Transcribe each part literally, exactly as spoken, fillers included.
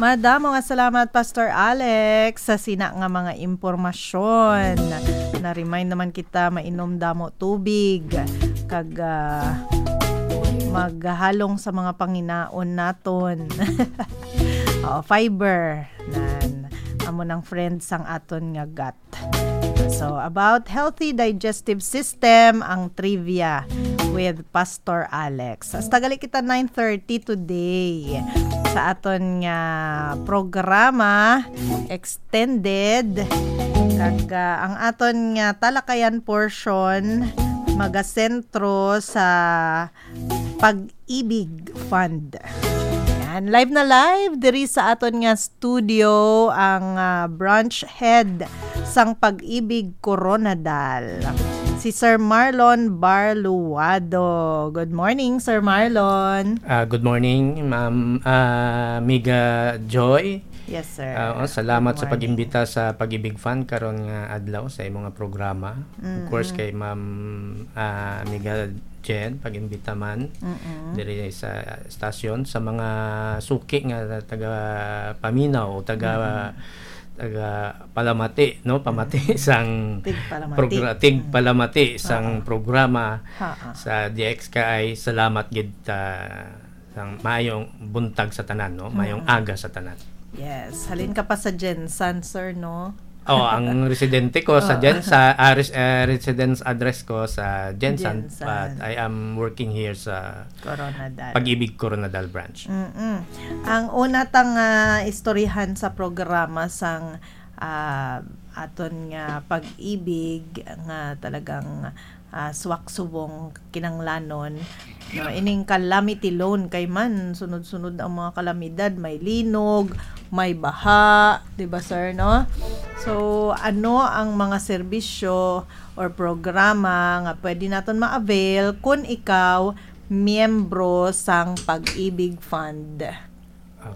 Madamo nga salamat, Pastor Alex, sa sina nga mga impormasyon. Na-remind naman kita mainom damo tubig kag, ah, maghalong sa mga panginaon naton. Oh, fiber. Nan, amo nang friend sang aton nga gut. So, about healthy digestive system, ang trivia with Pastor Alex. Hasta gali kita nine thirty today sa aton nga programa, extended. Kag, ah, ang aton nga talakayan portion, magasentro sa Pag-ibig Fund. Yan. Live na live diri sa aton nga studio ang, ah, branch head sang Pag-ibig Coronadal, si Sir Marlon Barluado. Good morning, Sir Marlon. Ah, good morning, Ma'am, ah, Amiga Joy. Yes, sir. Ah, oh, salamat Good sa morning. pag-imbita sa Pag-ibig Fund karon nga adlaw sa imo nga programa. Of course, Mm-mm. kay Ma'am, ah, Amiga Jen, pag-imbita man Mm-mm. diri sa estasyon, sa mga suki nga taga paminaw o taga, Mm-mm. taga palamati, no? Pamati Mm-mm. sang Tigpalamati. progra-, tigpalamati Mm. sang Oo. programa Ha-ha. sa D X K I. Salamat gid, ah, sang maayong buntag sa tanan, no? Mayong Mm. aga sa tanan. Yes. Halin ka pa sa Gensan, sir, no? Oh, ang residente ko sa Oh. Gensan, ah, res-, eh, residence address ko sa Gensan, Gensan. but I am working here sa Coronadal. Pag-ibig Coronadal Branch. Mm-mm. Ang una tang, ah, istoryahan sa programa sang, ah, aton nga pag-ibig nga talagang, ah, swak subong kinanglanon, no? Ining calamity loan, kay man sunod-sunod ang mga kalamidad, may linog, may baha, di ba, sir, no? So, ano ang mga serbisyo or programa nga pwede naton ma-avail kung ikaw miyembro sang Pag-ibig Fund?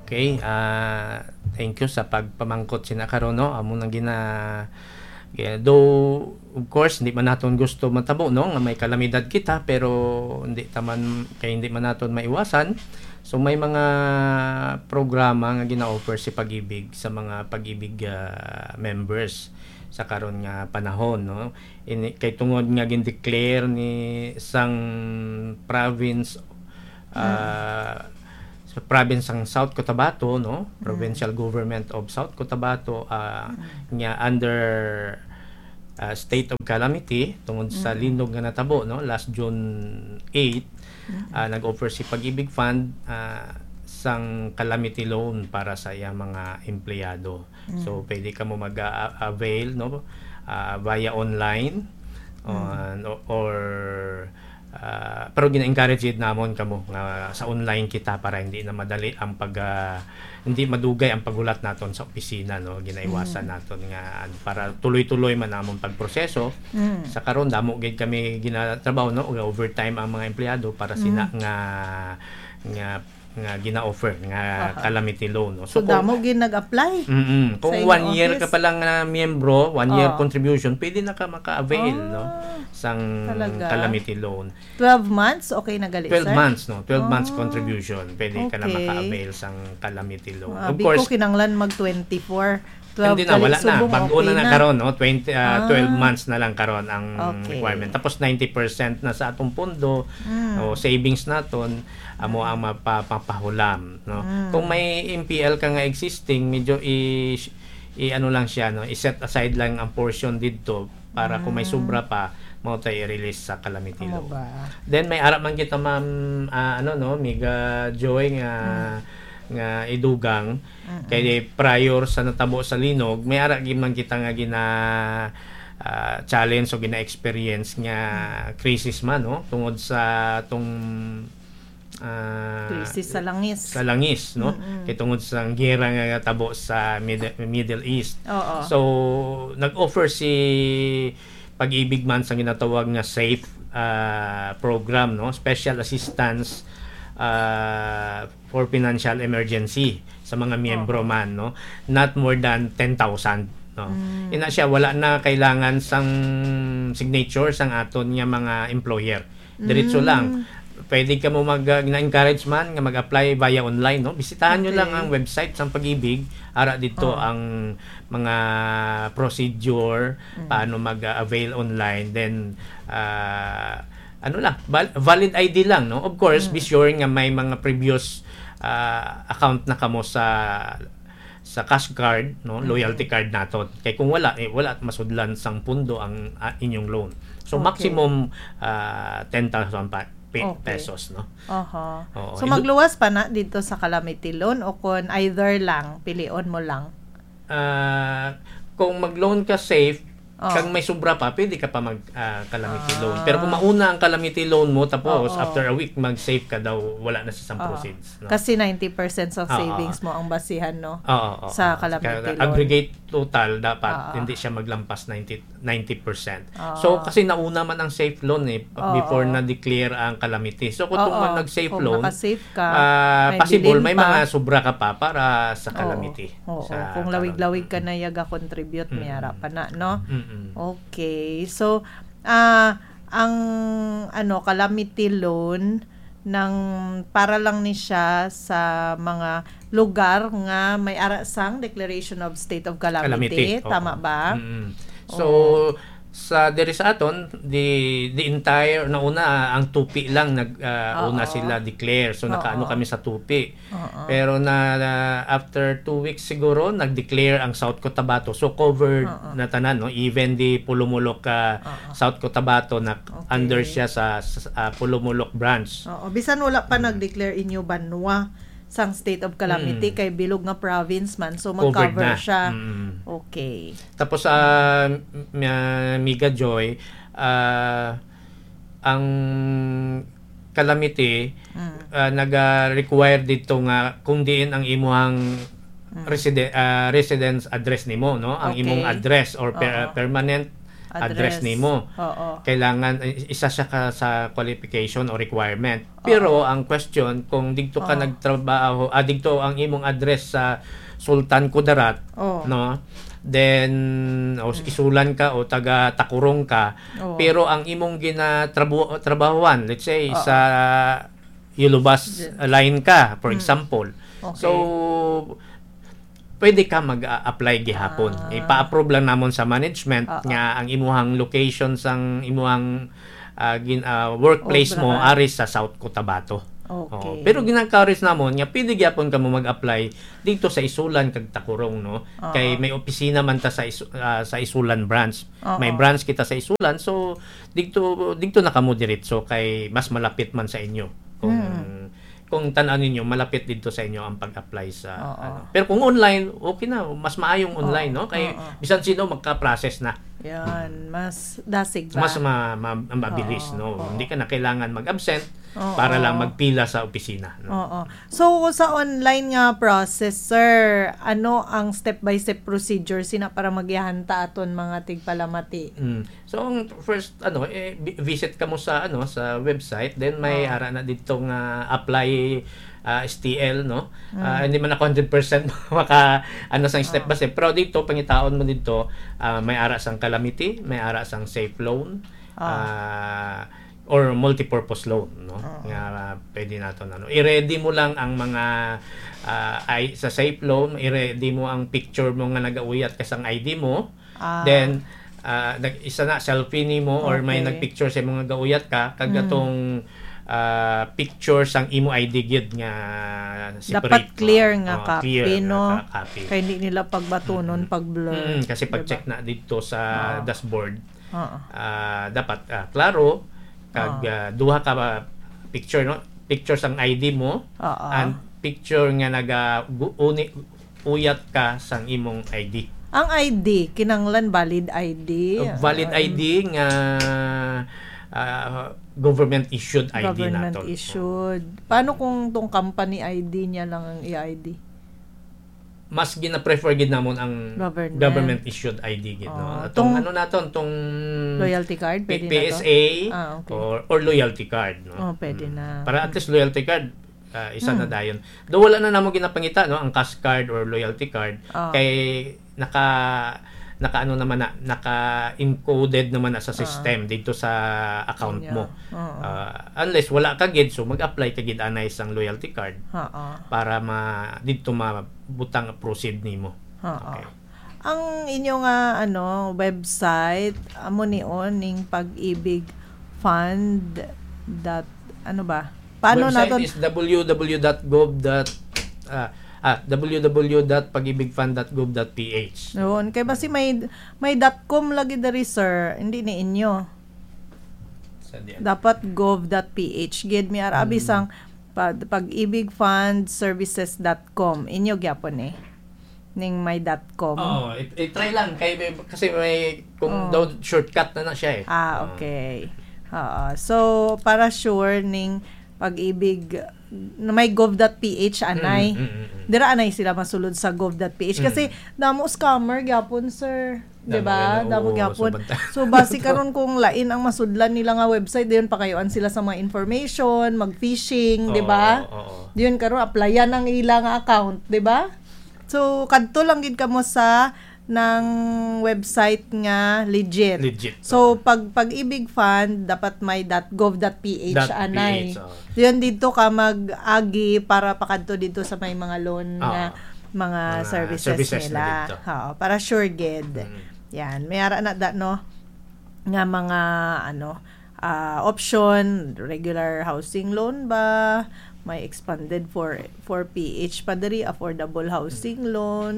Okay, ah, thank you sa pagpamangkot sina karon, no? Amo nang gina-, gina-, though, of course, hindi man naton gusto matabo, no, nga may kalamidad kita, pero hindi ta man, kay hindi man naton maiwasan. So, may mga programa nga gina-offer si Pag-ibig sa mga Pag-ibig, ah, members sa karon nga panahon, no? Ini, kay tungod nga gin-declare ni sang province, Mm. ah, sa province sang South Cotabato, no? Mm. Provincial Government of South Cotabato, ah, Mm. nga under, ah, state of calamity tungod sa Mm. linog nga natabo, no? Last June eight, Mm. ah, nag-offer si Pag-ibig Fund, ah, sang calamity loan para sa iyang mga empleyado. So, Mm. pwede kamo mag-a-, avail, no? Ah, via online, Mm. on, o-, or, ah, pero gina-encourage gid namon kamo nga sa online kita para hindi na madali ang pag, ah, hindi madugay ang paghulat naton sa opisina, no? Ginaiwasan Mm. naton nga, ano, para tuloy-tuloy man amon pagproseso. Mm. Sa karon, damo gid kami ginatrabaho, no? Overtime ang mga empleyado para sina Mm. nga, nga nga gina-offer nga Aha. calamity loan, no? So, So, kung damo gid nag-apply Mm-mm. sa Kung inyong one year ka office? pa lang na miyembro, one year Oh. contribution, pwede na ka maka-avail, no? Ah, Sang talaga? calamity loan. Twelve months, okay na gali, Twelve sir? months, no? Twelve months Ah, contribution, pwede ka na okay. maka-avail sang calamity loan. Ah, Of abi course, ko kinanglan mag twenty-four. Twelve Hindi na, gali wala na. subong, Bago okay na na na. karon, no? Twenty, ah, Ah. twelve months na lang karon ang Okay. requirement. Tapos ninety percent na sa atong pondo Mm. o savings naton, amo Mm. ang mapa-, mapahulam, no? Mm. Kung may M P L ka nga existing, medyo i-, i-, ano lang siya, no? I-set aside lang ang portion didto para kung may Mm. sobra pa, mao tay i-release sa calamity Amo loan. ba? Then may ara man kita, ma'am, ah, ano, no, Miga Joy, nga, Mm. nga idugang, Mm-mm. kay prior sa natabo sa linog, may ara gid man kita nga gina-, ah, challenge o gina-experience nga Mm. crisis man, no? Tungod sa tong, ah, Crisis sa langis. sa langis, no? Mm-mm. Kay tungod sa gera nga tabo sa Mid-, Middle East. Oo. So, nag-offer si Pag-ibig man sa ginatawag nga SAFE, ah, program, no? Special Assistance, ah, for Financial Emergency sa mga miyembro Oo. man, no? Not more than ten thousand, no? Mm. Ina siya, wala na kailangan sang signature sang aton nga mga employer. Diretso Mm. lang. Pwede ka mo mag, ah, na-encourage man nga mag-apply via online, no? Bisitahan nyo lang Okay. ang website sang Pag-ibig, ara dito Oh. ang mga procedure, Mm. paano mag-avail online, then, ah, ano lang, val-, valid I D lang, no? Of course, be Mm. sure nga may mga previous, ah, account na kamo sa, sa cash card, no? Mm. Loyalty card naton. Kay kung wala, eh, wala masudlan sang pundo ang, ah, inyong loan. So, Okay. maximum, ah, ten thousand pa-, pe-, Okay. pesos, no? Aha. Oo, So, indo- magluwas pa na dito sa Calamity Loan o kung either lang, pilion mo lang? Ah, kung mag-loan ka, safe, Oh. kang may sobra pa, pwede ka pa mag, ah, Calamity Loan. Pero kung Ah. mauna ang Calamity Loan mo, tapos Oo. after a week, mag-safe ka daw, wala na sa isang Oo. proceeds, no? Kasi ninety percent of Oo. savings mo ang basihan, no? Oo, oo, Sa oo. Calamity Kaya Loan. aggregate total, dapat Oo. hindi siya maglampas ninety, ninety percent. Oo. So, kasi nauna man ang safe loan eh, pa-, Oo. before na-declare ang calamity. So, kung Oo. man nag-safe Kung loan, naka-safe ka, ah, may possible, bilin may pa. mga sobra ka pa para sa Oo. calamity. Oo. Sa Kung lawig-lawig ka calamity. na yaga-contribute, may Mm. ara pa na, no? Mm-mm. Okay. So, ah, ang, ano, calamity loan, nang para lang ni siya sa mga lugar nga may ara sang declaration of state of calamity. Calamity, oo. Tama ba? Mm. So, Oo. sa diri sa aton, the, the entire, nauna, ah, ang Tupi lang nag, ah, Oo. una sila declare. So, nakaano Oo. kami sa Tupi. Oo. Pero na, na after two weeks siguro, nag-declare ang South Cotabato. So, covered Oo. na tanan, no? Even the Pulumulok, ah, Oo. South Cotabato na Okay. under siya sa, sa, ah, Pulumulok branch. Oo, bisan wala pa Mm. nag-declare inyo banwa sang state of calamity, Mm. kay bilog nga province man, so Covered mag-cover na. siya. Mm. Okay. Tapos, ah, m-, ah, Miga Joy, ah, ang calamity, Mm. ah, naga-require dito nga kung diin ang imuhang Mm. reside-, ah, residence address nimo, no? Ang imong Okay. address or per-, Oo. permanent address Address. nimo. Oo. Kailangan, i-, isa siya ka sa qualification o requirement. Oo. Pero ang question, kung dito ka Oo. nagtrabaho, ah, dito ang imong address sa Sultan Kudarat, Oo. no? Then, o s-, Mm. Isulan ka o taga Takurong ka, Oo. pero ang imong ginatrabu-, trabahuan, let's say, Oo. sa Yulubas Di- line ka, for Mm. example. Okay. So, pwede ka mag-a-, apply gihapon. Ah. Ipa-approve lang namon sa management Oo. nga ang imuhang location sang imuhang, ah, gin-, ah, workworkplace mo Obrahan. ari sa South Cotabato. Okay. Oo. Pero gina-encourage namon nga pwede gyapon kamo mag-apply dito sa Isulan kag Takurong, no? Oo. Kay may opisina man ta sa Isu-, ah, sa Isulan branch. Oo. May branch kita sa Isulan, so dito, dito na kamo diretso kay mas malapit man sa inyo. Kung, Hmm. kung tan-aw ninyo, malapit dito sa inyo ang pag-apply sa, Oo. ano. Pero kung online, okay na, mas maayong Oo. online, no? Kay Oo. bisan sino magka-process na. Yan, Mm. mas dasig ba? Mas ma-, ma-, mabilis, Oo. no? Oo. Hindi ka na kailangan mag-absent Oo. para lang magpila sa opisina, no? Oo. So, sa online nga process, sir, ano ang step-by-step procedure sina para magyahan ta aton mga tigpalamati? Mm. So, ang first, ano, eh, vi-, visit ka mo sa, ano, sa website, then may Oo. ara na dito nga apply, ah, S T L, no? Mm. Ah, hindi man ako hundred percent maka, ano, sa step Oo. by step. Pero dito, pangitaon mo dito, ah, may ara sang calamity, may ara sang safe loan, Oo. ah, or multipurpose loan, no? Oo. Nga, ah, pwede naton, ano. I-ready mo lang ang mga, ah, ay, sa safe loan, i-ready mo ang picture mo nga nagauyat ka sang I D mo. Ah. Then, ah, nag-, isa na, selfie nimo or may Okay. nagpicture sa mga gauyat ka, kag Mm. atong, ah, picture sang imo I D gyud nga Dapat separate. clear nga Oh, copy, clear no? nga copy. Kay hindi nila pagbatunon, Mm. pag-blur, Mm, kasi di ba? pag-check na dito sa Oo. dashboard, Oo. ah, dapat, ah, klaro, kag, Oo. ah, duha ka, ah, picture, no? Picture sang I D mo, Oo. and picture nga naga-, gu-, uni-, uyat ka sang imong I D. Ang I D, kinahanglan valid I D? Uh, valid Or I D nga, ah, government issued I D Government naton. issued. Paano kung tong company I D niya lang ang i-I D? Mas gina-prefer gid namon ang Government. government issued I D gid, no? Oh, Atong tong ano naton, tong Loyalty card, P-, pwede na to? P S A Ah, okay. or, or loyalty card, no? Oh, pwede Mm. na. Para at Mm. least loyalty card, ah, isa na Mm. dayon. Though wala na namo ginapangita, no, ang cash card or loyalty card, Oh. kay naka, nakaano naman na, naka-encoded naman na sa Ah. system dito sa account Niya. mo. Oo. Ah, unless wala ka gid, so mag-apply ka gid anay sang loyalty card Oo. para ma-, dito mabutang proceed nimo. Oo. Okay. Ang inyo nga, ano, website, amo ni on ning Pag-ibig Fund dot, ano ba? Paano Website naton? is W W W dot gov dot, ah, ah, W W W dot pag ibig fund dot gov dot P H. Yun. Kay basi may, may dot com lagi diri, sir. Hindi ni inyo. Sa di- Dapat gov dot P H. Gid, may ara abi Hmm. sang pa-, Pag-ibig Fund Services dot com. Inyo gyapon eh. Ning may dot com. Oo, i-, i-try lang. Kay may, kasi may, kung Oo. daw shortcut na na siya eh. Ah, Oo. okay. Oo. So, para sure ning Pag-ibig, na may gov dot P H anay. Mm, mm, mm, mm. Dira anay sila masulod sa gov dot P H. Kasi Mm. damo scammer gyapon, sir. Di Damo ba? yan, Damo oo, gyapon. sa banta-, So, basi karon kung lain ang masudlan nila nga website, dayon pakayuan sila sa mga information, mag-phishing, di Oo, ba? oo, oo. Dayon karon, applyan ang ila nga account, di ba? So, kadto lang gid kamo sa nang website nga legit. Legit, So, oo. pag Pag-ibig Fund, dapat may dot gov dot P H Dot anay. P H, oo. Yun, dito ka mag-agi para pakadto dito sa may mga loan Oo. nga mga Mga services services na nila. dito. Oo, para sure gid. Mm. Yan, may ara na da, no? Nga mga, ano, ah, option, regular housing loan ba? May expanded for, for P H pa diri, affordable housing Mm. loan.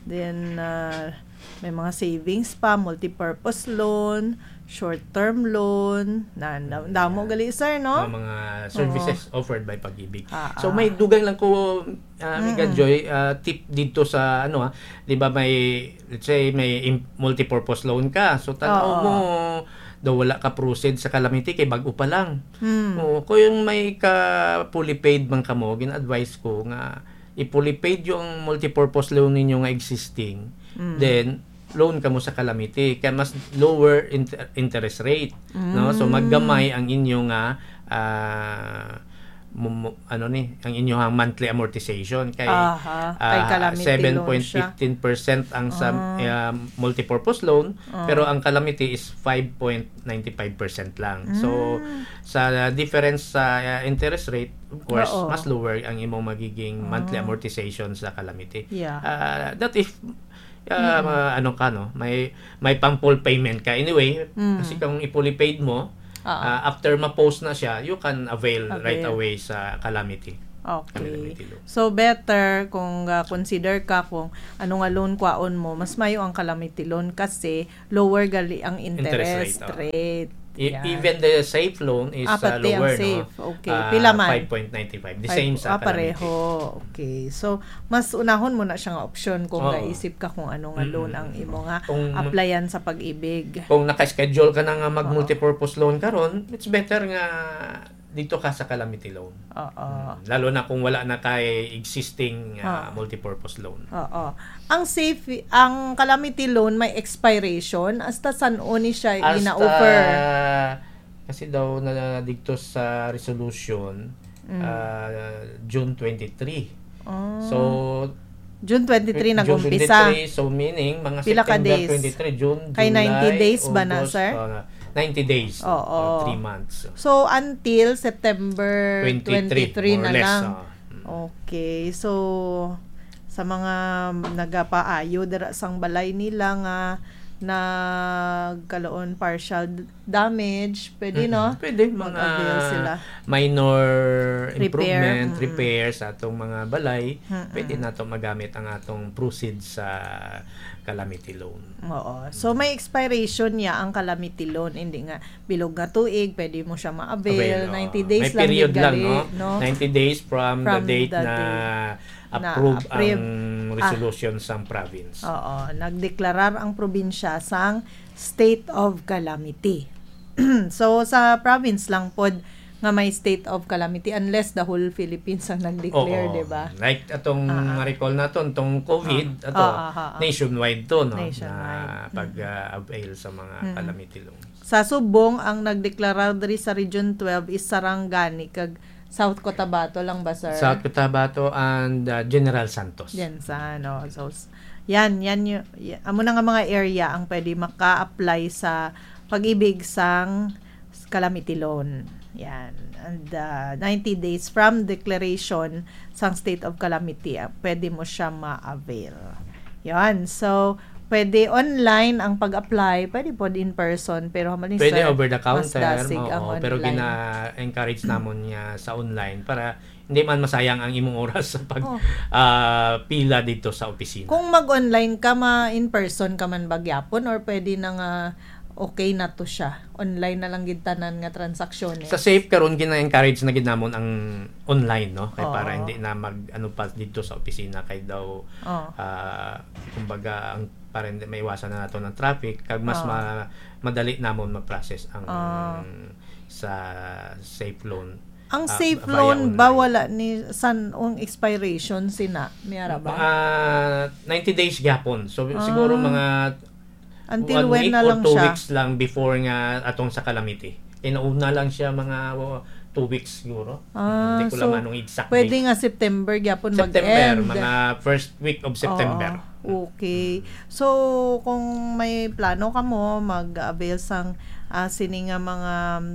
Then, ah, may mga savings pa, multipurpose loan, short-term loan, na, na, Mm, damo yeah. gali, sir, no? Ang mga services Oo. offered by Pag-ibig. Ah, So, ah. may dugang lang ko, ah, Amiga Mm-mm. Joy, ah, tip dito sa, ano, ah, di ba may, let's say, may im-, multipurpose loan ka. So, tanaw Oo. mo, daw wala ka proceed sa Calamity kay bag-o pa lang. Hmm. Oo, kung yung may ka fully paid man kamo, gin-advise ko nga i-fully paid yung multipurpose loan ninyo nga existing, Mm. then loan kamo sa Calamity, kaya mas lower inter-, interest rate, no? So, Mm. maggamay ang inyo nga, ah, mo-, mo-, ano ni, ang inyong monthly amortization kay, Aha, kay ah, Calamity loan siya. seven point fifteen percent ang sa, Ah. ah, multipurpose loan, Ah. pero ang Calamity is five point ninety-five percent lang. So, Mm. sa difference sa, ah, interest rate, of course, Oo. mas lower ang imong magiging monthly Ah. amortization sa Calamity. Yeah. Ah, that if, ah, Mm. ma-, ano ka, no? May, may pang full payment ka. Anyway, Mm. kasi kung i-fully paid mo, Oo. ah, after ma-post na siya, you can avail right Avail. away sa Calamity. Okay. Calamity loan. So, better kung, ah, consider ka kung ano nga loan kwaon mo, mas mayo ang Calamity loan kasi lower gali ang Interest interest rate, oh. rate. E-, Yan. even the safe loan is, Ah, uh, pati ang lower, no? safe. Okay. Ah, Pila man? five point nine five. The Five, same sa ah, Calamity. pareho. Okay. So, mas unahon mo na siya nga option kung Oo. gaisip ka kung ano nga loan Mm. ang imo nga Kung applyan sa Pag-ibig. Kung naka-schedule ka na nga mag Oo. multipurpose loan karon, it's better nga dito ka sa Calamity loan. Oo. Mm. Lalo na kung wala na kay existing, ah, Oo. multipurpose loan. Oo. Ang safe, ang Calamity loan may expiration. Hasta san-o ni siya Hasta, gina-offer? Kasi daw na dito sa resolution, Mm. ah, June twenty-three. Ah. So, June twenty-three June nag-umpisa. twenty-three, so meaning, mga Pila ka September days? twenty-three, June, Kay ninety July, days ba na, August, sir? ah, ninety days, Oo. ah, three months. So, until September Twenty-three, twenty-three more na or less, lang. ah. Mm. Okay. So, sa mga nagapaayo dira sang balay nila nga nagkaluon partial damage, pwede, Mm-mm. no? Pwede, mga Mag-avail sila. minor Repair, improvement, mm-mm. repair sa atong mga balay, Mm-mm. pwede nato magamit ang atong proceeds sa calamity loan. Oo. So, may expiration niya ang calamity loan. Hindi nga, bilog nga tuig, pwede mo siya ma-avail. Avail, oo. Ninety days May lang period gid lang, gali, no? no? Ninety days from the From date the na date na approve approve. ang Ah. resolution sang province. Oo. Nagdeklarar ang probinsya sang state of calamity. So, sa province lang pod nga may state of calamity unless the whole Philippines ang nag-declare, Oo. di ba? Like atong Ah, ah. recall naton, tong COVID, Ah. ato, Ah, ah, ah, ah. nationwide to, no? Nationwide. Na pag, Mm. ah, avail sa mga Mm. calamity loans. Sa subong, ang nagdeklarar diri sa Region twelve is Sarangani kag South Cotabato lang ba, sir? South Cotabato and, ah, General Santos. Yan sa, ano, so, s-, Yan, yan yung, y- amo na nga mga area ang pwede maka-apply sa pag-ibig sang calamity loan. Yan. And uh, ninety days from declaration sang state of calamity, ah, pwede mo siya ma-avail. Yan. So, pwede online ang pag-apply, pwede po in person, pero hamaling Pwede sir, over the mas counter, dasig ang oo, pero online. Gina-encourage namon niya sa online para hindi man masayang ang imong oras sa pag Oh. ah, pila dito sa opisina. Kung mag-online ka, ma in person ka man ba gyapon or pwede na nga okay na to siya? Online na lang gid tanan nga transaksyone. Sa Safe karon gina-encourage na gid namon ang online, no? Kay para Oo. hindi na mag ano pa dito sa opisina kay daw Oh. ah, kumbaga ang para hindi maiwasan na nato ng traffic kag mas Oo. ma- madali namon ma-process ang Ah. sa Safe loan. Ang ah, Safe via loan ba online. Wala ni san ang expiration sina? May ara ba? Ah, ninety days gyapon. So siguro Ah. mga Until one when week na or lang two siya? Weeks lang before nga atong sa calamity. Kay nauna lang siya mga oh, two weeks siguro. Ah, Hindi ko so, lang anong exact pwede date. Nga September gyapon September, mag-end. Mga first week of September. Oo, okay. Mm. So, kung may plano ka mo, mag-avail sang ah, sini nga mga um,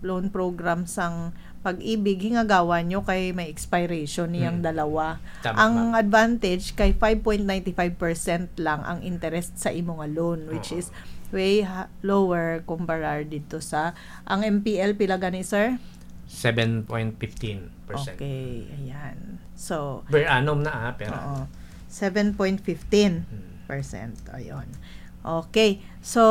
loan program sang Pag-ibig, hingagawa nyo kay may expiration niyang Mm. dalawa. Tama, Ang ma'am. Advantage kay five point nine five percent lang ang interest sa imo nga loan, which Oo. Is way ha- lower kumparar dito sa, ang M P L, pila gani, sir? Seven point fifteen percent. Okay, ayan. So, per annum na, ah, per Oo. Seven point fifteen percent. Hmm. Ayun. Okay. So,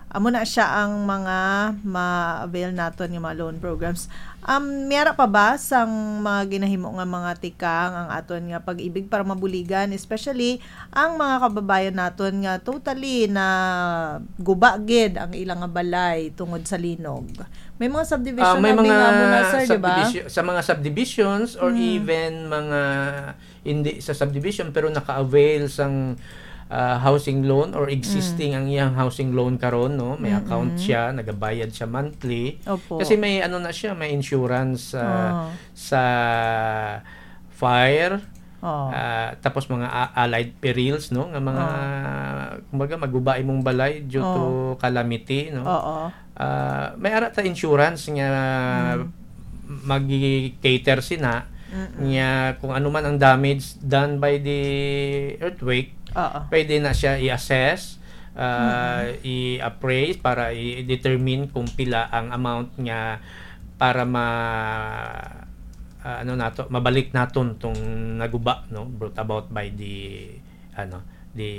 amo na siya ang mga ma-avail naton nga mga loan programs. Um, may ara pa ba sang mga ginahimo nga mga tikang ang aton nga Pag-ibig para mabuligan, especially ang mga kababayan naton nga totally na guba gid ang ilang nga balay tungod sa linog? May mga subdivision Ah, may na mga nga amo na, sir, di ba? Subdivision, sa mga subdivisions or Mm. even mga hindi sa subdivision pero naka-avail sang ah, housing loan or existing Mm. ang iyang housing loan karon, no? May account Mm-mm. Siya, nagabayad siya monthly. Opo. Kasi may ano na siya, may insurance ah, Ah. Sa fire, Oh. Ah, tapos mga a- allied perils, no? Nga mga, Oh. Kumbaga, maguba imong balay due to Oh. Calamity, no? Oo. Ah, may ara ta insurance nga Mm. Mag-cater sina Mm-mm. Nga kung ano man ang damage done by the earthquake, Oo. Pwede na siya i-assess, ah, Mm-mm. I-appraise para i-determine kung pila ang amount nga para ma ah, ano nato, mabalik naton tong naguba, no, brought about by the ano, the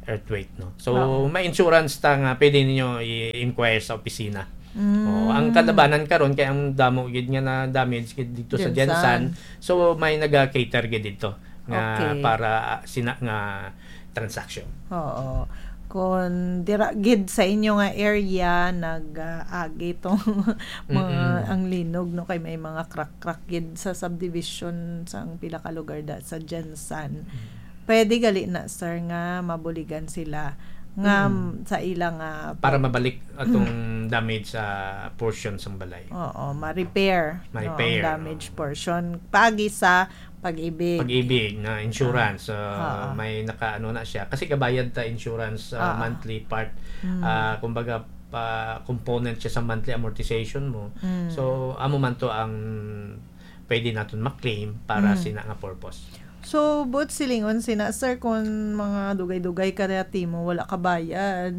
earthquake, no. So, Oo. May insurance ta nga pwede ninyo i-inquire sa opisina. Mm. Oh, ang kalabanan karon kay ang damo gid nga na damage gid dito sa Gensan. Gensan. So, may naga-cater gid dito nga Okay. Para sina nga transaction. Oo. Kung dira gid sa inyo nga area nag-agi tong mga Mm-mm. Ang linog, no, kay may mga crack-crack gid sa subdivision sa ang pila ka lugar da sa Gensan. Mm. Pwede gali na, sir, nga mabuligan sila nga Mm. Sa ila nga Para pag- mabalik atong Mm. Damage sa portion sang balay. Oo, ma-repair, no, Ma-repair, ang damage oo. Portion. Pagi sa Pag-ibig. Pag-ibig na insurance, ah, Oo. May nakaano na siya. Kasi gabayad ta insurance, ah, Oo. Monthly part. Mm. Ah, kumbaga, pa component siya sa monthly amortization mo. Mm. So, amo man to ang pwede naton ma-claim para Mm. Sina nga purpose. So, but silingon sina, sir, kung mga dugay-dugay ka na timo, wala ka bayad.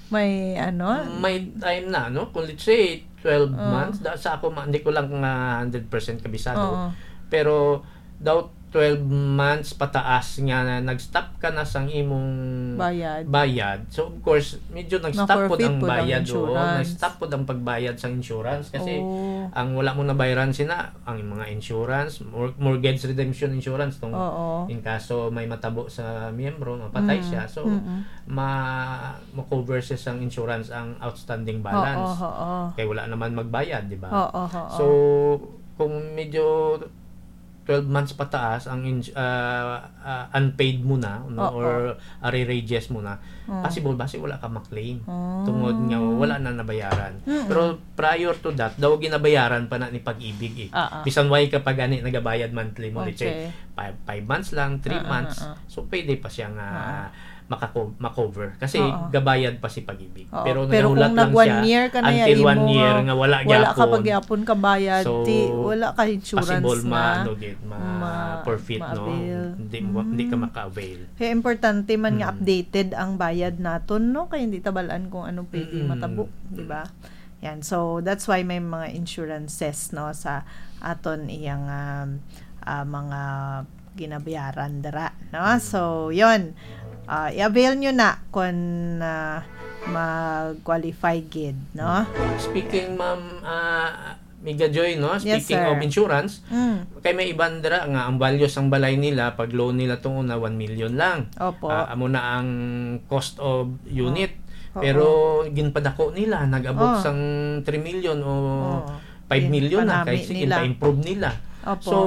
May ano? May time na, no? Kung let's say, twelve Oh. Months, da, sa ako, ma- hindi ko lang nga hundred percent kabisado. Oo. Pero, daw twelve months pataas nga na nag-stop ka na sang imong Bayad. Bayad. So, of course, medyo nag-stop po Na-forfeit ang po ang bayad, oo. Insurance. Nag-stop po ang pagbayad sa insurance kasi Oh. Ang wala mo nabayaran sina, ang mga insurance, mor- mortgage redemption insurance, tong Oo. In kaso may matabo sa miyembro, mapatay Mm. Siya. So, Mm-mm. Ma-, ma-cover siya sang insurance ang outstanding balance. Oo, oo. Kay wala naman magbayad, di ba? Oo, oo. So, kung medyo twelve months pataas ang ins-, ah, ah, unpaid mo na, no, Oo. or arrearages mo na, Oo. possible ba si wala ka ma-claim? Oo. Tungod nga wala na nabayaran. Mm-mm. Pero prior to that, daw ginabayaran pa na ni Pag-ibig eh. Oo. Bisan way ka pa gani nagabayad monthly mo, let's say, Okay. five, five months lang, three Ah, ah, months. ah, ah. So, pwede pa siya nga Ah. makako-, makover. Kasi Oo. gabayad pa si Pag-ibig. Oo, Pero pero nagahulat kung lang nag one siya year ka na ya until one imo year nga nga wala wala ka gyapon. pa gyapon kabayad, So, ti-, wala ka insurance possible na. ma-, ano, gid, ma-, Ma-, forfeit, no? ma-avail. Hindi mo, hindi ka Mm. maka-avail. Kaya importante man nga Mm. updated ang bayad naton, no? Kaya hindi tabalan kung ano pwede Mm. matabo, di ba? Yan. So, that's why may mga insurances, no, sa aton iyang, um, ah, mga ginabayaran dira, no? Mm. So, yun. Ah, i-avail nyo na kung, ah, mag-qualify gid, no? Speaking, Ma'am, ah, Miga Joy, no? Yes, Speaking of sir. insurance, Mm. kay may iban dira nga ang value sang balay nila, pag loan nila tong una, one million lang. Opo. Ah, amo na ang cost of unit. Oo. Pero ginpadako nila, nag-abot Oh. sang three million o Oo. five million na, Ginpanami kay sige, nila. pa-improve nila. Opo. So,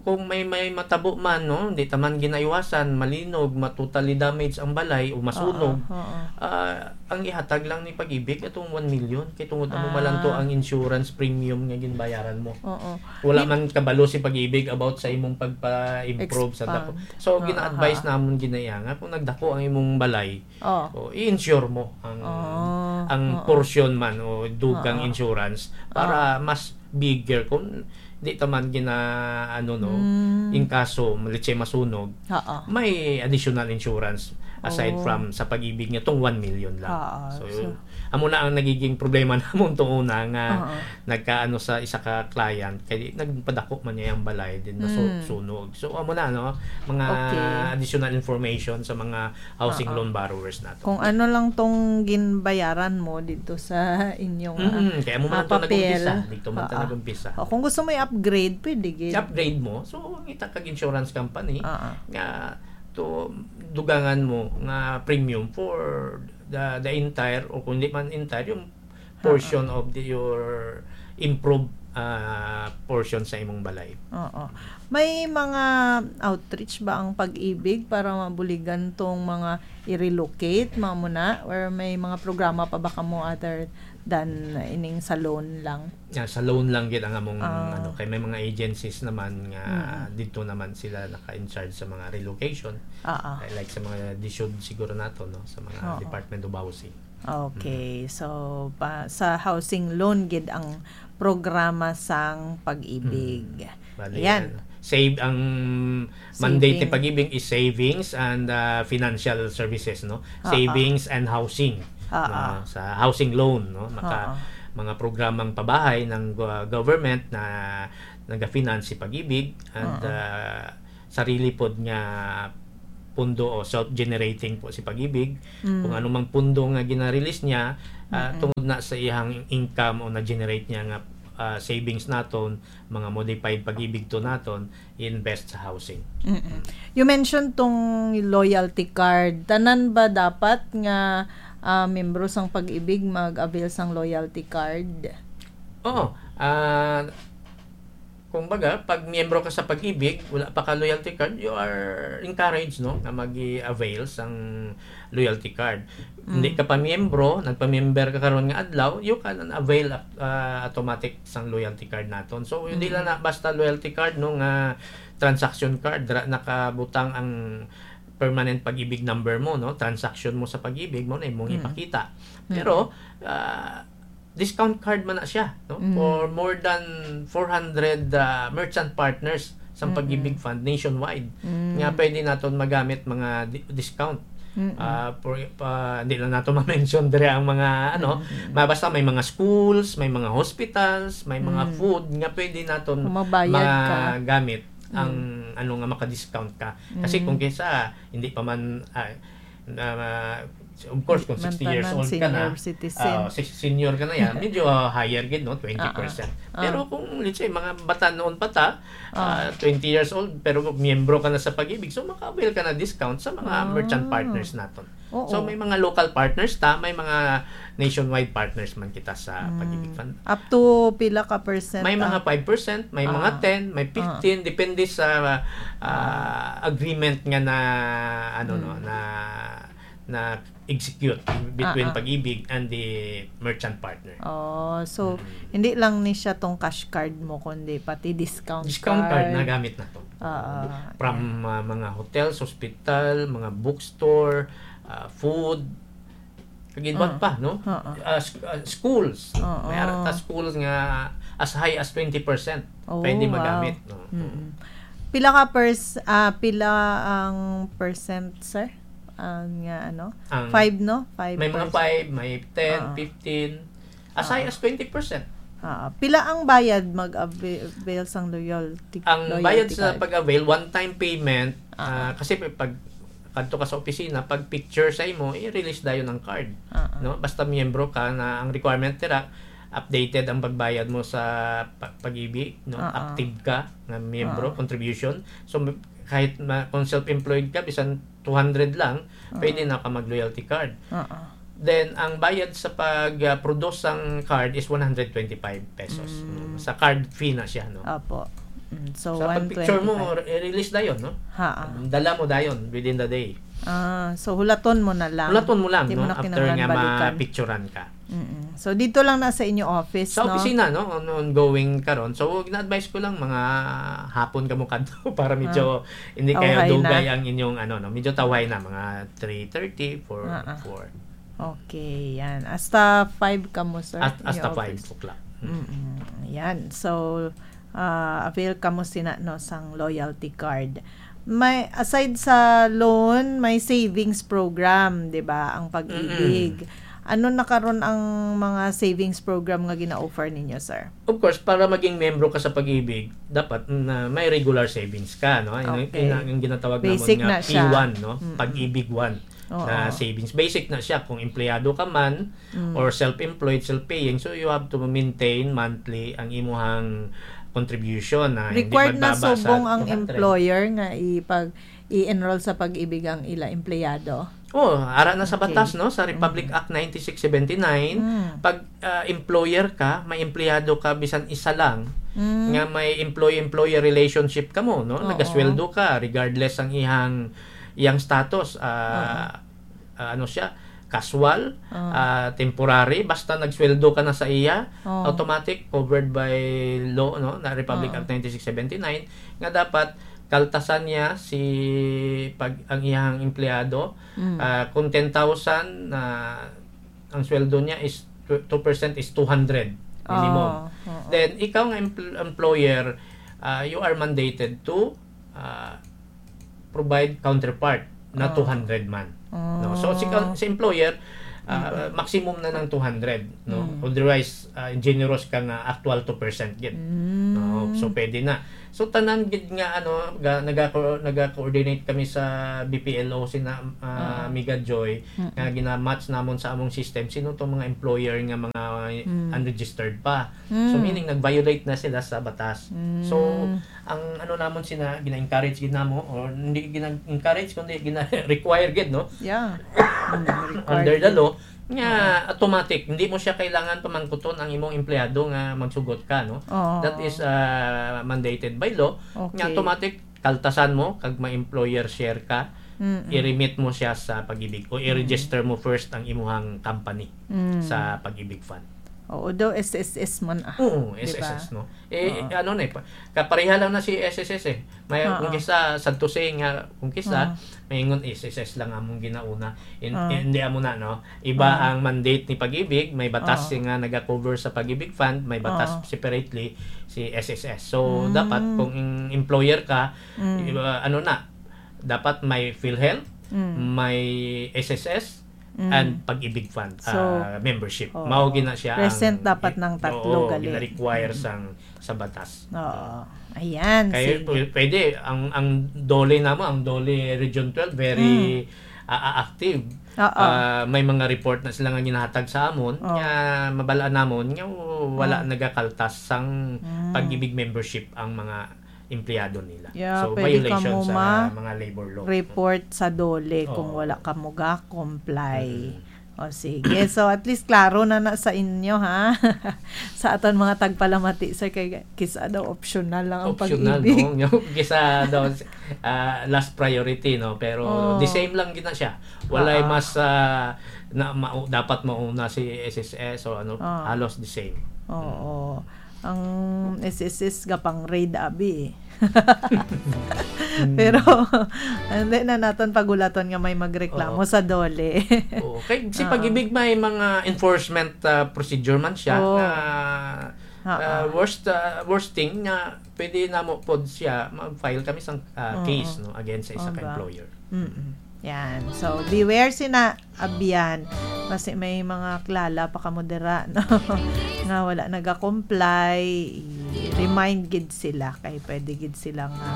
kung may, may matabo man, no, hindi ta man ginaiwasan, malinog, ma-, totally damage ang balay o masunog, Oo, oo. ah, ang ihatag lang ni Pag-ibig atong one million, kay tungod amo Ah. malanto ang insurance premium nga ginbayaran mo. Oo. Wala Di- man kabalo si Pag-ibig about sa imong pagpa-improve sa dako. Expand. So, Oo, gina-advise ha. namon ginaya nga kung nagdako ang imong balay, Oh. o, i-insure mo ang, Oh, ang oo. portion man o dugang Oo. insurance para Oo. mas bigger kung di ta man gina, ano, no, Mm. in kaso, let's say, masunog, Oo. may additional insurance aside Oh. from sa Pag-ibig nga tong one million lang. Oo, So, so amo na ang nagiging problema namon to una nga Oo. nagkaano sa isa ka client, kay nagpadako man niya ang balay, din nasu-, Mm. sunog. So, amo na, no? Mga Okay. additional information sa mga housing Oo. loan borrowers nato. Kung ano lang tong ginbayaran mo dito sa inyong, Mm-mm. Kaya mo man ah, ito papel. nag-umpisa. Dito man ito Oo. nag-umpisa. O, kung gusto mo i-upgrade, pwede gid. I-upgrade mo. So, ngita kag insurance company Oo. nga to dugangan mo nga premium for the, the entire, o kung di man entire, yung portion Oo. of the, your improve, ah, portion sa imong balay. Oo. May mga outreach ba ang Pag-ibig para mabuligan tong mga i-relocate, mga muna? Or may mga programa pa ba kamo other than ining sa loan lang? Yeah, sa loan lang gid ang among, Ah. ano, kay may mga agencies naman nga Mm. dito naman sila naka-in charge sa mga relocation. Ah, ah. Like sa mga DSUD siguro nato, no, sa mga Oo. Department of Housing. Okay. Mm. So, pa, sa housing loan gid ang programa sang Pag-ibig. Mm. Bali, Yan. ano, save ang mandate ni Saving. Pag-ibig is savings and, ah, financial services, no? Ah, ah. Savings and housing, Ah, no? ah. Sa housing loan, no? Maka-, Ah, ah. mga programang pabahay ng go-, government na naga-finance si Pag-ibig and, Ah, ah. ah, sarili pod nga pundo o self-generating po si Pag-ibig. Mm. Kung ano mang pundo nga gina-release niya, ah, Mm-mm. tungod na sa iyang income o na-generate niya nga, ah, savings naton, mga modified Pag-ibig to naton, i-invest sa housing. Mm-mm. You mentioned tong loyalty card. Tanan ba dapat nga, ah, membro sang Pag-ibig mag-avail sang loyalty card? Oo. Ah, kumbaga, pag miyembro ka sa Pag-ibig, wala pa ka loyalty card, you are encouraged, no, nga mag-avail sang loyalty card. Hindi Mm. ka pa miyembro, nagpa-member ka karon nga adlaw, you can avail, ah, automatic sang loyalty card naton. So, hindi Mm. lang na basta loyalty card, no, nga transaction card, dira nakabutang ang permanent Pag-ibig number mo, no, transaction mo sa Pag-ibig mo na imong Mm. ipakita. Mm. Pero, ah, discount card man na siya, no? Mm. For more than four hundred, ah, merchant partners sa Mm-mm. Pag-ibig Fund nationwide Mm. nga pwede naton magamit mga di-, discount. Mm-mm. Ah, for, pa, hindi lang nato ma-mention dire ang mga, ano, Mm-mm. ma-, basta may mga schools, may mga hospitals, may mga Mm. food nga pwede naton Kung mabayad ka. magamit ang, Mm. ano, nga maka-discount ka. Kasi Mm. kung kinsa, hindi pa man, ah, na, of course, kung Di man sixty years tanan old ka na, senior citizen. ah, si-, senior ka na yan, medyo, ah, higher gid, no? Twenty percent. Ah, ah. Pero kung, let's say, mga bata noon pa ta, Ah. ah, twenty years old, pero kung miyembro ka na sa Pag-ibig, so maka-avail ka na discount sa mga Ah. merchant partners naton. Oo. So, may mga local partners ta, may mga nationwide partners man kita sa Mm. Pag-ibig Fund. Up to pila ka percent, May mga ah? five percent, may mga Ah. ten, may Ah. fifteen, depende sa, ah, Ah. agreement nga na, ano, no, Mm. na, na execute between Ah, ah. Pag-ibig and the merchant partner. Oh, so, Mm. hindi lang ni siya tong cash card mo, kundi pati discount Discount card, card. nagamit na to. Ah, ah. From, ah, mga hotels, hospital, mga bookstore, ah, food, kag iban Ah. pa, no? Ah, ah. Ah, sk-, ah, schools. Ah, May ara ta ah. schools nga as high as twenty percent Oh, pwede wow. magamit, no? Mm-mm. Pila ka pers-, ah, pila ang percent, sir? Ang, nga, ano? Ang Five, no? Five percent. May mga five, may ten, Ah. fifteen, as high Ah. as twenty percent. Ah, pila ang bayad mag-avail sang loyalty, Ang loyalty bayad sa card? pag-avail, one-time payment, Ah. ah, kasi pag kadto ka sa opisina, pag picture sa imo, i-release dayon ang card, Ah, ah. no? Basta miyembro ka na ang requirement dira, updated ang pagbayad mo sa pa-, Pag-ibig, no? Ah, ah. Active ka nga miyembro, Ah. contribution. So, m-, kahit ma-, kung self-employed ka, bisan two hundred lang, Ah. pwede na ka mag-loyalty card. Ah, ah. Then, ang bayad sa pag, ah, produce sang card is one hundred twenty-five pesos. Mm. Mm, sa card fee na siya, no? Apo. Mm, so, Sa pag-picture mo, one twenty-five. re-, release dayon, no? Ha, ah. Dala mo dayon within the day. Ah, so hulaton mo na lang. Hulaton mo lang, Di mo no? na After kinahanglan nga balikan. ma-picturean ka. Mm-mm. So, dito lang na sa inyo office, Sa no? opisina, no? On-, ongoing karon. So, gina-advise ko lang, mga hapon ka mo kadto para medyo Ah. hindi kayo Tawhay na. dugay ang inyong, ano, no? Medyo tawhay na, mga three thirty, four, Ah, ah. four. Okay, yan. Hasta five ka mo, sir? At, hasta Inyo five office? o'clock. Mm. Mm-mm. Yan. So, ah, avail ka mo sina, no, sang loyalty card. May, aside sa loan, may savings program, di ba, ang Pag-ibig. Mm-mm. Ano na karon ang mga savings program nga gina-offer ninyo, sir? Of course, para maging membro ka sa Pag-ibig, dapat na may regular savings ka, no? Yun ang, Okay. yun ang ginatawag namon Basic nga na siya. P one, no? Mm-mm. Pag-ibig One Oo. na savings. Basic na siya kung empleyado ka man Mm. or self-employed, self-paying. So, you have to maintain monthly ang imuhang contribution na hindi Required na magbaba sa subong ang two hundred. employer nga ipag-, i-enroll sa Pag-ibig ang ila empleyado? Oh, ara na sa Okay. batas, no? Sa Republic Mm. Act ninety-six seventy-nine, Mm. pag, ah, employer ka, may empleyado ka, bisan isa lang, Mm. nga may employee-employer relationship ka mo, no? Oo. Nagasweldo ka, regardless ang ihang, iyang status, ah, Oo. ah, ano siya, casual, Oo. ah, temporary, basta nagsweldo ka na sa iya, Oo. automatic, covered by law, no? Na Republic Oo. Act ninety-six seventy-nine, nga dapat kaltasan niya si pag, ang iyang empleyado, Mm. ah, kung ten thousand, ah, ang sweldo niya is tw-, two percent is two hundred minimum. Oo, oo. Then, ikaw nga empl-, employer, ah, you are mandated to, ah, provide counterpart na Oo. two hundred man. No? So, si, Oo. si employer, ah, Mm. maximum na ng two hundred, no? Mm. Otherwise, ah, generous ka nga actual two percent gid. Mm. No? So, pwede na. So, tanan gid nga, ano, ga-, nagako-, nagakoordinate kami sa B P L O, sina, ah, Ah. Amiga Joy, Mm. nga gina-match namon sa among system, sino tong mga employer nga mga Mm. unregistered pa. So, Mm. meaning, nag-violate na sila sa batas. Mm. So, ang ano namon sina, gina-encourage gid namo, or hindi gina-encourage, kundi gina-require gid, no? Yeah. Mm, required Under the gid. law, nga Oo. automatic, hindi mo siya kailangan pamangkuton ang imong empleyado nga magsugot ka, no? Oo. That is, ah, mandated by law. Nga Okay. automatic, kaltasan mo, kag may employer share ka, Mm-mm. i-remit mo siya sa Pag-ibig o i-register Mm. mo first ang imuhang company Mm. sa Pag-ibig Fund. Oo, daw S S S man, ah. Oo, Di ba? S S S, no? Eh, Oo. ano na eh, pa-, kapareha lang na si S S S eh. May, Oo. kung kisa, sad to say nga, kung kisa, Oo. may ingon S S S lang among ginauna. In-, Oo. hindi amo na, no? Iba Oo. ang mandate ni Pag-ibig, may batas Oo. nga naga-cover sa Pag-ibig Fund, may batas Oo. separately si S S S. So, Mm. dapat kung employer ka, Mm. iba, ano na, dapat may PhilHealth, Mm. may S S S, Mm. and Pag-ibig Fund, So, ah, membership. oo. Mao gina siya Present ang dapat gi-, ng tatlo oo, gali. gina-require Mm. sang, sa batas. Oo. Ayan, Kaya sige. pw-, pwede, ang, ang DOLE namo, ang DOLE Region twelve, very, Mm. ah, ah, active. Oo. Ah, may mga report na sila nga ginahatag sa amon, Oo. nga mabalaan namon, nga wala Oo. nagakaltas sang Mm. Pag-ibig membership ang mga empleyado nila. Yeah, so, pwede ka violation mo sa ma- mga labor law. Report sa DOLE kung Oo. wala ka mo ga-comply. Mm. O, sige. So, at least klaro na na sa inyo, ha? Sa aton mga tagpalamati, sir, kay kisa daw optional lang ang Optional, pag-ibig. No? Yung kisa daw, ah, last priority, no? Pero Oh. the same lang gina siya. Walay Ah. mas, ah, na, ma-, dapat mauna si S S S o ano, Ah. halos the same. Oo. Ang S S S ga pang raid abi. Mm. Pero, hindi na naton pagulaton nga may magreklamo Oo. sa DOLE. Oo. Kay si Oo. Pag-ibig may mga enforcement, ah, procedure man siya Oo. nga, Oo. ah, worst, ah, worst thing nga pwede namo pod siya mag-file kami sang, ah, Oo. case, no, against sa isa ka Oga. employer. Mm-mm. Yan. So, beware sina abyan. Kasi may mga klala pa kamo dira, no? Nga wala naga-comply, i-remind gid sila. Kay pwede gid sila nga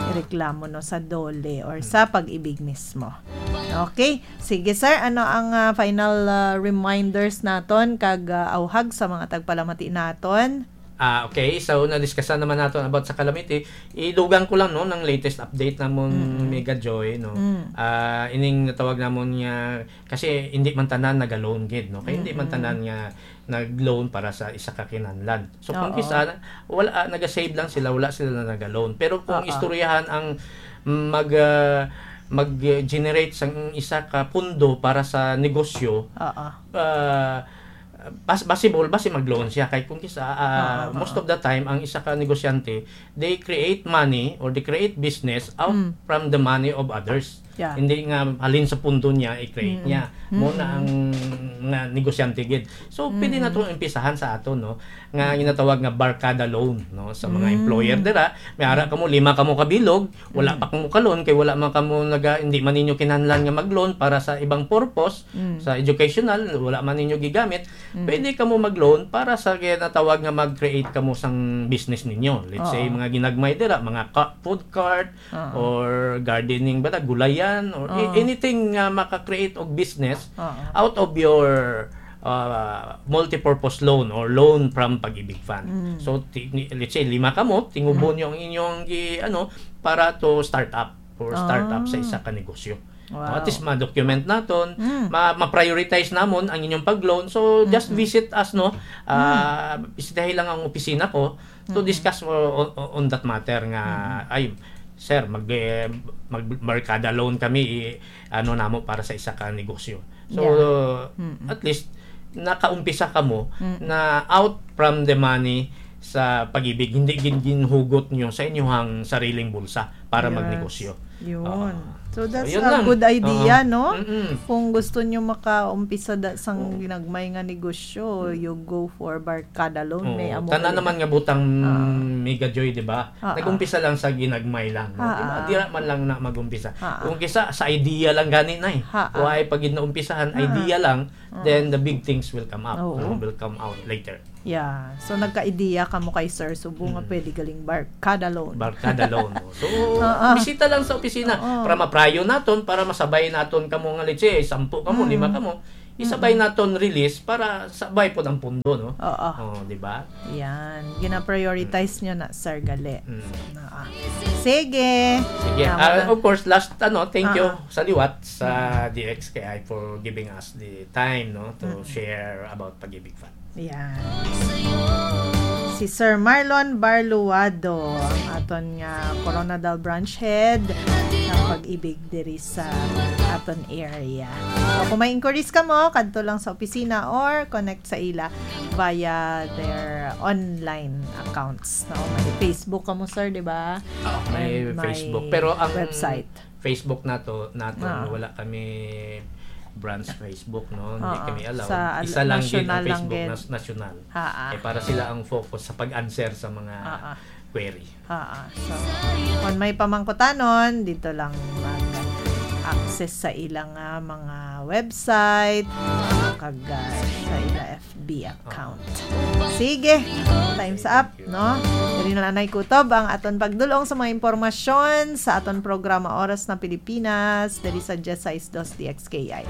ireklamo, no, sa DOLE or sa Pag-ibig mismo. Okay. Sige, sir. Ano ang, ah, final, ah, reminders naton kag, ah, awhag sa mga tagpalamati naton? Ah, okay. So, na-discussan naman naton about sa calamity. Idugang ko lang, no, ng latest update namon, Mm. Mega Joy, no. Mm. Ah, ining natawag namon nga, kasi hindi man tanan naga-loan gid, no. Kay hindi man Mm-mm. tanan nga nag-loan para sa isa ka kinahanglan. So, kung Oo. kisa, wala, ah, naga-save lang sila, wala sila na naga-loan. Pero kung Oo. istoryahan ang mag, ah, mag-generate sang isa ka pundo para sa negosyo, Oo. ah, pas-, possible ba si mag-loan siya? Kay kung kisa, ah, Oo, most oo. of the time, ang isa ka negosyante, they create money or they create business out Mm. from the money of others. Yeah. Hindi nga halin sa pundo niya, i-create Mm. niya. Mo na Mm. ang nga negosyante gid. So, pwede na Mm. itong umpisahan sa ato, no? Nga Mm. ginatawag nga barkada loan, no? Sa mga Mm. employer dira, may ara Mm. kamo, lima kamo kabilog, wala Mm. pa kamo ka-loan, kay wala man kamo naga-, hindi man ninyo kinahanglan nga mag-loan para sa ibang purpose, Mm. sa educational, wala man ninyo gigamit, Mm. pwede kamo mag-loan para sa ginatawag nga mag-create kamo sang business ninyo. Let's say, Oo. mga ginagmay dira, mga ka-, food cart, Oo. or gardening ba na, gulayan, or a-, Oo. anything nga maka-create og business Oo. out of your, uh, multipurpose loan or loan from Pag-ibig Fund. Mm. So, ti-, ni-, let's say, lima kamo, tingubo Mm. nyo ang inyong gi-, ano, para to start up or start up sa Ah. isa ka negosyo. Wow. At least ma-document naton, Mm. ma-, ma-prioritize namon ang inyong pag-loan. So, just Mm-mm. visit us, no? Ah, Mm. bisitahin lang ang opisina ko to Mm-mm. discuss o-, o-, on that matter nga, Mm-mm. ay, sir, mag, eh, mag-, barkada loan kami, i-, ano namo para sa isa ka negosyo. So, Yeah. Mm-mm. at least, nakaumpisa kamo Mm-mm. na out from the money sa Pag-ibig, hindi gin-, ginhugot nyo sa inyuhang sariling bulsa para Yes. magnegosyo. Yun. Oo. So, So, that's yun a lang. good idea, Oo. no? Mm-mm. Kung gusto nyo makaumpisa da-, sang Oo. ginagmay nga negosyo, you go for barkada loan, Oo. may amo Tanan gali. naman nga butang Oo. Mega Joy, di ba? Oo. Nag-umpisa lang sa ginagmay lang, no? Di ba? Oo. Dira man lang na mag-umpisa. Oo. Kung kisa, sa idea lang gani na eh. Oo. Why pag gid naumpisahan, Oo. idea lang, Oo. then the big things will come up, Oo. no? Will come out later. Yeah. So, nagka-idea kamo kay Sir Subo nga Mm. pwede galing barkada loan. Barkada loan, no? So, Oo. bisita lang sa opisina Oo. para maprayo naton, para masabay naton kamo nga, let's say, sampu kamo, Mm. lima kamo, isabay Mm. naton release para sabay pod ang pundo, no? Oo. Oh, di ba? Yan. Gina-prioritize Mm. nyo na, Sir Gali. Mm. Oo. Sige. Sige. Tama Ah, na. of course, last, ano, thank you Oo. sa liwat sa Mm. D X K I for giving us the time, no, to Mm. share about Pag-ibig Fund. Yan. Si Sir Marlon Barluado, ang aton nga Coronadal Branch Head ng Pag-ibig diri sa aton area. So, kung may inquiries kamo, kadto lang sa opisina or connect sa ila via their online accounts, no? May Facebook kamo, sir, di ba? Ah, may And may Facebook. Pero ang website. Facebook nato, nato, Ah. wala kami branch Facebook, no? Hindi Ah, ah. kami allowed. Sa al-, Isa lang gid ang national lang Facebook gid. nas-, national. Ah, ah. Eh, para sila ang focus sa pag-answer sa mga Ah, ah. query. Ah, ah. So, kung may pamangkutanon, dito lang mag-, access sa ila nga mga website, kag, ah, sa ila F B account. Sige, time's up, no? Diri na lang nay kutob ang aton pagdulong sa mga impormasyon sa aton programa Oras ng Pilipinas, diri sa diyes sais dos D X K I.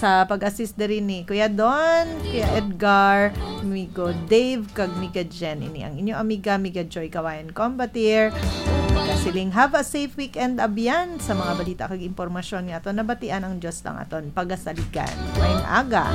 Sa pag-assist diri ni Kuya Don, Kuya Edgar, Migo Dave, kag Miga Jen. Ini ang inyo amiga, Miga Joy Kawayan Combatir. Kasiling, have a safe weekend, abyan, sa mga balita kag impormasyon nga aton nabatian. Ang Dios lang aton pagasaligan. Maayong aga.